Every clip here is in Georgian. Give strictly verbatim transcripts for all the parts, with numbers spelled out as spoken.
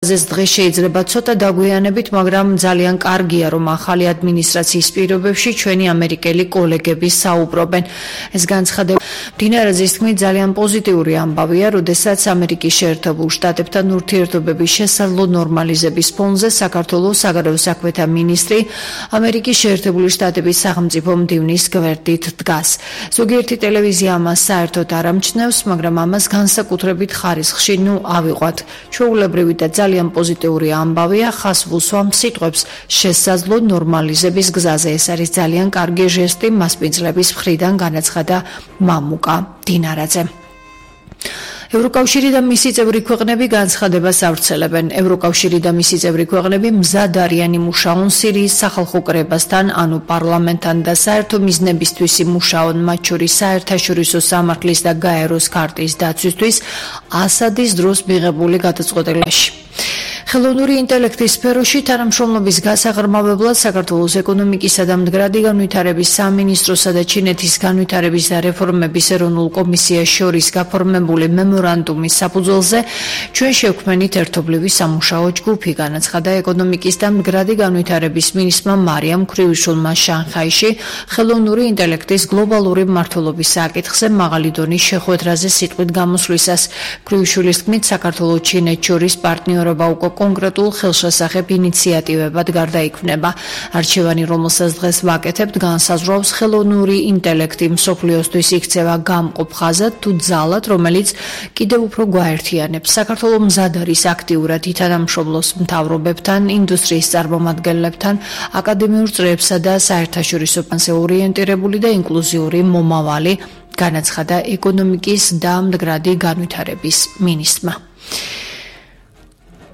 ეს დღეს შეიძლება ცოტა დაგვიანებით, მაგრამ ძალიან კარგია, რომ ახალი ადმინისტრაციის პირობებში ჩვენი ამერიკელი კოლეგები საუბრობენ. ეს განცხადება მდინარაძის თქმით ძალიან პოზიტიური ამბავია, როდესაც ამერიკის შეერთებულ შტატებთან ურთიერთობების შესაძლო ნორმალიზების ფონზე საქართველოს საგარეო საქმეთა მინისტრი ამერიკის შეერთებული შტატების სახელმწიფო მდივნის გვერდით დგას. ზოგიერთი ტელევიზია ამას საერთოდ არ ამჩნევს, მაგრამ ამას განსაკუთრებით ხარისხში ნუ ავიყვათ. ჩვეულებრივი და ძალიან პოზიტიური ამბავია, ხას ვუსვამ სიტყვებს შესაძლო ნორმალიზების გზაზე. ეს არის ძალიან კარგი ჟესტი მასპინძლების მხრიდან, განაცხადა მამუკა დინარაძე. ევროკავშირი და მისი წევრი ქვეყნები განცხადებას ავრცელებენ. ევროკავშირი და მისი წევრი ქვეყნები მზად არიან იმუშაონ სირიის სახალხო კრებასთან, ანუ პარლამენტთან და საერთო მიზნებისთვის იმუშაონ, მათ შორის საერთაშორისო სამართლის და გაეროს ქარტის დაცვისთვის ასადის დროს მიღებული გადაწყვეტილებაში. ხელოვნური ინტელექტის სფეროში თანამშრომლობის გასაღრმავებლად საქართველოს ეკონომიკისა და მდგრადი განვითარების სამინისტროსა და ჩინეთის განვითარების და რეფორმების ეროვნულ კომისიას შორის გაფორმებული მემორანდუმის საფუძველზე ჩვენ შევქმნით ერთობლივი სამუშაო ჯგუფი, განაცხადა ეკონომიკის და მდგრადი განვითარების მინისტრმა მარიამ ქრივიშვილმა შანხაიში ხელოვნური ინტელექტის გლობალური მმართველობის საკითხზე მაღალი დონის შეხვედრაზე სიტყვით გამოსვლისას. ქრივიშვილის თქმით, საქართველოს ჩინეთს შორის პარტნიორობა უკვე კონკრეტულ ხელშესახებ ინიციატივებად გარდაიქმნება. არჩევანი, რომელსაც დღეს ვაკეთებთ, განსაზღვრავს ხელოვნური ინტელექტი მსოფლიოსთვის იქცევა გამყოფ ხაზად თუ ძალად, რომელიც კიდევ უფრო გვაერთიანებს. საქართველოს მზად არის აქტიურად ითანამშრომლოს მთავრობებთან, ინდუსტრიის წარმომადგენლებთან, აკადემიურ წრეებსა და საერთაშორისო ფონზე ორიენტირებული და ინკლუზიური მომავალი, განაცხადა ეკონომიკის და მდგრადი განვითარების მინისტრმა.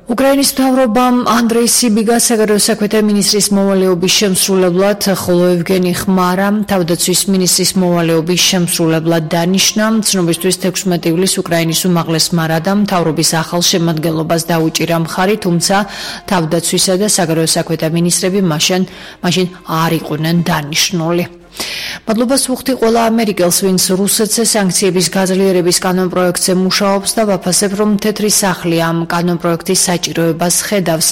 უკრაინის მთავრობამ ანდრეი სიბიგა საგარეო საქმეთა მინისტრის მოვალეობის შემსრულებლად, ხოლო ევგენი ხმარა თავდაცვის მინისტრის მოვალეობის შემსრულებლად დანიშნა. ცნობისთვის თექვსმეტი ივლისს უკრაინის უმაღლესმა რადამ მთავრობის ახალ შემადგენლობას დაუჭირა მხარი, თუმცა თავდაცვისა და საგარეო საქმეთა მინისტრები მაშინ მაშინ არ იყვნენ დანიშნული. მადლობას ვუხდი ყველა ამერიკელს, ვინც რუსეთზე სანქციების გაძლიერების კანონპროექტზე მუშაობს და ვაფასებ, რომ თეთრი სახლი ამ კანონპროექტის საჭიროებას ხედავს,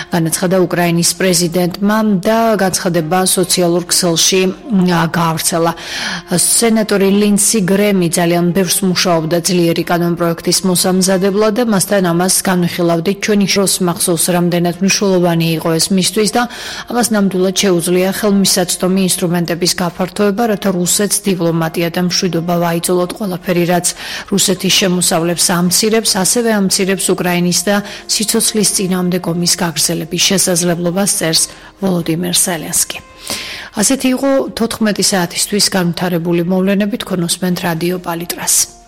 განაცხადა უკრაინის პრეზიდენტმა და განცხადება სოციალურ ქსელში გაავრცელა. სენატორი ლინდსი გრემი ძალიან ბევრს მუშაობდა ძლიერი კანონპროექტის მოსამზადებლად და მასთან ამას განვიხილავდით. ჩვენი შროს მახსოვს, რამდენად მნიშვნელოვანი იყო ეს მისთვის და ამას ნამდვილად შეუძლია ხელმისაწვდომი ინსტრუმენტების გაფართოება, რათა რუსეთს დიპლომატია და მშვიდობა ვაიძოლოთ. ყველაფერი, რაც რუსეთის შემოსავლებს ამცირებს, ასევე ამცირებს უკრაინის და სიცოცხლის წინააღმდეგ ომის გაგრძელების შესაძლებლობას, წერს ვოლოდიმირ ზელენსკი. ასეთი იყო თოთხმეტი საათისთვის განვითარებული მოვლენები, თქვენ უსმენთ რადიო პალიტრას.